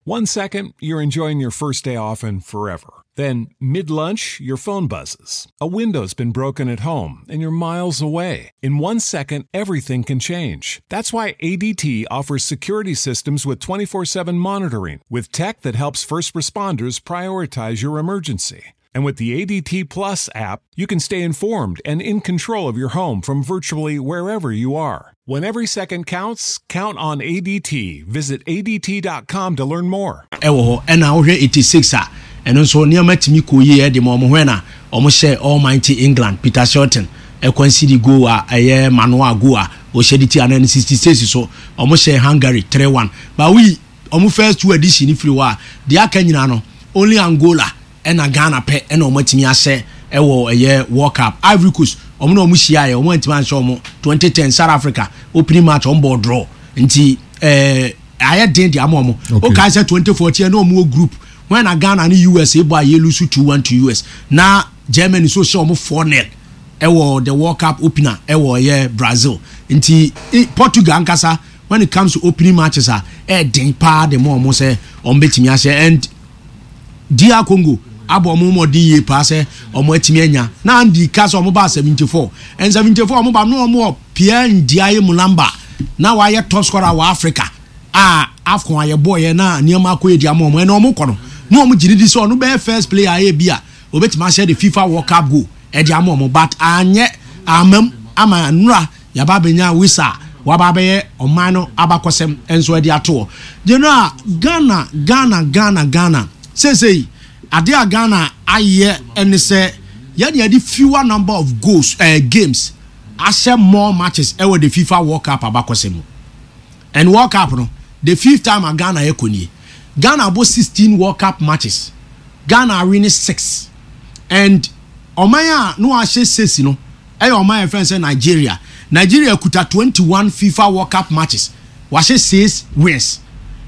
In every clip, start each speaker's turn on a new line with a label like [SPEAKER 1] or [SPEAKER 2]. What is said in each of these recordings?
[SPEAKER 1] One second, you're enjoying your first day off and forever. Then, mid lunch, your phone buzzes. A window's been broken at home and you're miles away. In 1 second, everything can change. That's why ADT offers security systems with 24/7 monitoring, with tech that helps first responders prioritize your emergency. And with the ADT Plus app, you can stay informed and in control of your home from virtually wherever you are. When every second counts, count on ADT. Visit ADT.com to learn more.
[SPEAKER 2] Ɛwɔ hɔ ɛna wohwɛ 86 a, ɛno nso nneɛma tumi kɔ yie ɛde ma ɔmo hwɛ na ɔmo hyɛ almighty England. Peter Shilton ɛconcede goal a ɛyɛ manual goal a ɔhyɛ de ti anan. 66 so ɔmo hyɛ Hungary 3-1. But we ɔmo first two edition firi hɔ a, deɛ aka nyinaa no, only Angola ɛna Ghana pɛ ɛna ɔmo atumi ahyɛ ɛwɔ ɛyɛ World Cup. Ivory Coast, ɔmo na ɔmo hyia yɛ, ɔmo antumi anhyɛ ɔmo. 2010 South Africa, opening match ɔmo bɔ draw, nti ayɛ den de ama ɔmo. O kae sɛ 2014 ɛna ɔmo wɔ group when na Ghana ne US bɔ a yɛ lose 2-1 to US, na Germany so hyɛ ɔmo 4-0 ɛwɔ the World Cup opener ɛwɔ ɛyɛ Brazil. Nti Portugal ankasa, when it comes to opening matches a, ɛɛden paa de mo ɔmo sɛ ɔmo bɛtumi ahyɛ. And DR Congo abɔ ɔmo mmɔden yie paa sɛ ɔmo atumi anya na andi ka sɛ ɔmo ba 74 and 74 ɔmo ba no, ɔmo wɔ Pierre Ndiaye Mulamba na wayɛ top scorer wɔ Africa a AFCON a yɛbɔ yɛ na nneɛma akɔ yɛ di ama ɔmo. Ɛna ɔmo kɔ no na ɔmo gyina di sɛ ɔno bɛyɛ first player ayɛ bi a obetumi ahyɛ the FIFA World Cup goal ɛde ama ɔmo, but anyɛ amam ama nnura yaba abɛnya wisa waba abɛyɛ ɔman no abakɔsɛm nso ɛde ato hɔ. General, Ghana, Ghana, Ghana, Ghana seesei adeɛ a Ghana ayɛ ɛne sɛ yɛde yɛde fewer number of goals, games ahyɛ more matches ɛwɔ the FIFA World Cup abakɔsɛm mu. And World Cup no, the fifth time a Ghana yɛ kɔ nie. Ghana abɔ 16 World Cup matches, Ghana awin six, and ɔman a no ahyɛ six no ɛyɛ ɔman yɛn fɛn sɛ Nigeria. Nigeria kuta 21 FIFA World Cup matches, wahyɛ six wins,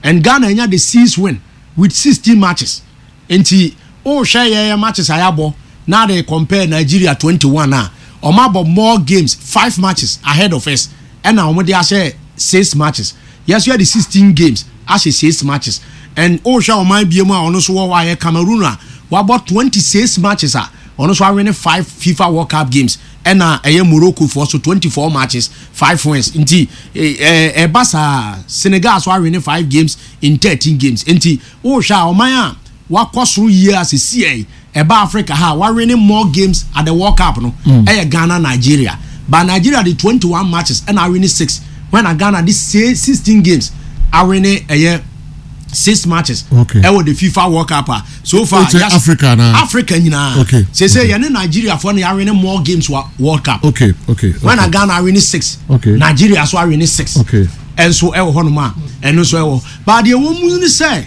[SPEAKER 2] and Ghana nya the six win with 16 matches. Nti wohwɛ yɛyɛ matches a yɛabɔ na de compare Nigeria 21 a, ɔmo abɔ more games, five matches ahead of us, ɛna ɔmo de ahyɛ six matches. Yɛso yɛ de 16 games ahyɛ six matches. And wohwɛ ɔman bie mu a ɔno nso wɔ hɔ a yɛ Cameroon a wabɔ 26 matches a ɔno nso awin five FIFA World Cup games, ɛna ɛyɛ Morocco foɔ so 24 matches, five wins. Nti ɛba saa, Senegal so awin five games in 13 games. Nti wohwɛ a, ɔman a wakɔ soro yie a sisi yɛ ɛba Africa ha wawin more games at the World Cup no ɛyɛ Ghana, Nigeria. But Nigeria de 21 matches ɛna awin six, when na Ghana de 16 games awin ɛyɛ six matches ɛwɔ the FIFA World Cup a so far.
[SPEAKER 3] Wokyɛ Africa na?
[SPEAKER 2] Africa nyinaa. Sese yɛne Nigeria foɔ no yɛawin more games wɔ World Cup. When na Ghana awin six, Nigeria so awin six. Ɛnso ɛwɔ hɔnom a ɛno nso ɛwɔ, but deɛ wɔn mu ni sɛ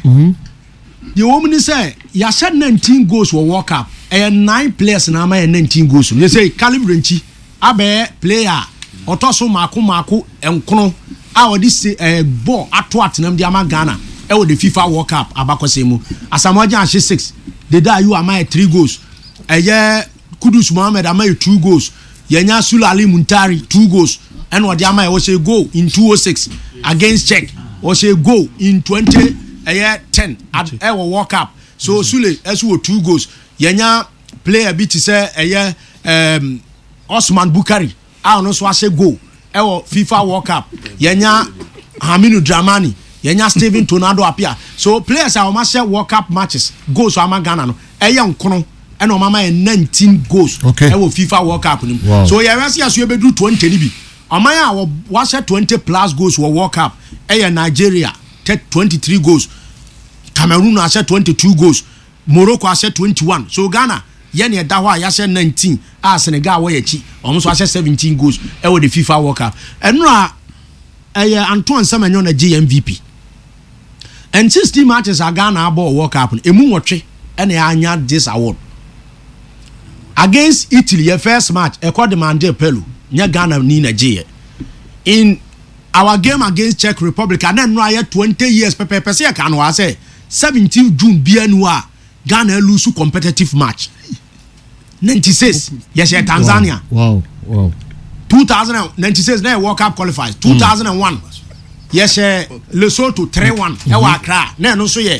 [SPEAKER 2] deɛ wɔn mu ni sɛ yɛahyɛ 19 goals wɔ World Cup. Ɛyɛ nine players na ama yɛ 19 goals no. Yɛsɛ Caleb Yirenkyi abɛyɛ player a ɔtɔ so mako mako nkono a ɔde se ball ato atenam de ama Ghana ɛwɔ the FIFA World Cup abakɔsɛm mu. Asamoah Gyan ahyɛ six, Dede Ayew ama yɛ three goals, ɛyɛ Kudus Mohammed ama yɛ two goals, yɛnya Sulley Ali Muntari two goals ɛna ɔde ama yɛ. Ɔhyɛ goal in 206 against Czech, ɔhyɛ goal in twenty ɛyɛ ten ɛwɔ World Cup. So Sule ɛso wɔ two goals. Yɛnya player bi te sɛ ɛyɛ Osman Bukari a ɔno nso ahyɛ goal ɛwɔ FIFA World Cup. Yɛnya Haminu Dramani, yɛnya Steven Tornado Appiah. So players a wɔn ahyɛ World Cup matches goals ama Ghana no ɛyɛ nkono, ɛna wɔn ama yɛ 19 goals ɛwɔ FIFA World Cup no mu. So yɛrɛ sɛ yɛso yɛbɛduru 20 ni bi. Ɔman a wɔahyɛ 20 plus goals wɔ World Cup ɛyɛ Nigeria, 23 goals. Cameroon ahyɛ 22 goals, Morocco ahyɛ 21. So Ghana yɛne ɛda hɔ a yɛahyɛ 19 a Senegal wɔ yɛ akyi, ɔmo nso ahyɛ 17 goals ɛwɔ the FIFA World Cup. Ɛno a ɛyɛ Antoine Semenyo na gye MVP. And 16 matches a Ghana abɔ wɔ World Cup no, emu 8 ɛna yɛanya this award. Against Italy, yɛ first match ɛkɔ demande Pelu, nyɛ Ghana ni na gye yɛ. In our game against Czech Republic a na nnora yɛ 20 years pɛpɛɛpɛ sɛ yɛka no wɔ sɛ 17 June bia nu a Ghana lose competitive match. 96 yɛhyɛ Tanzania. 2096 na yɛ World Cup qualifiers. 2001 yɛhyɛ Lesotho 3-1 ɛwɔ Accra na ɛno nso yɛ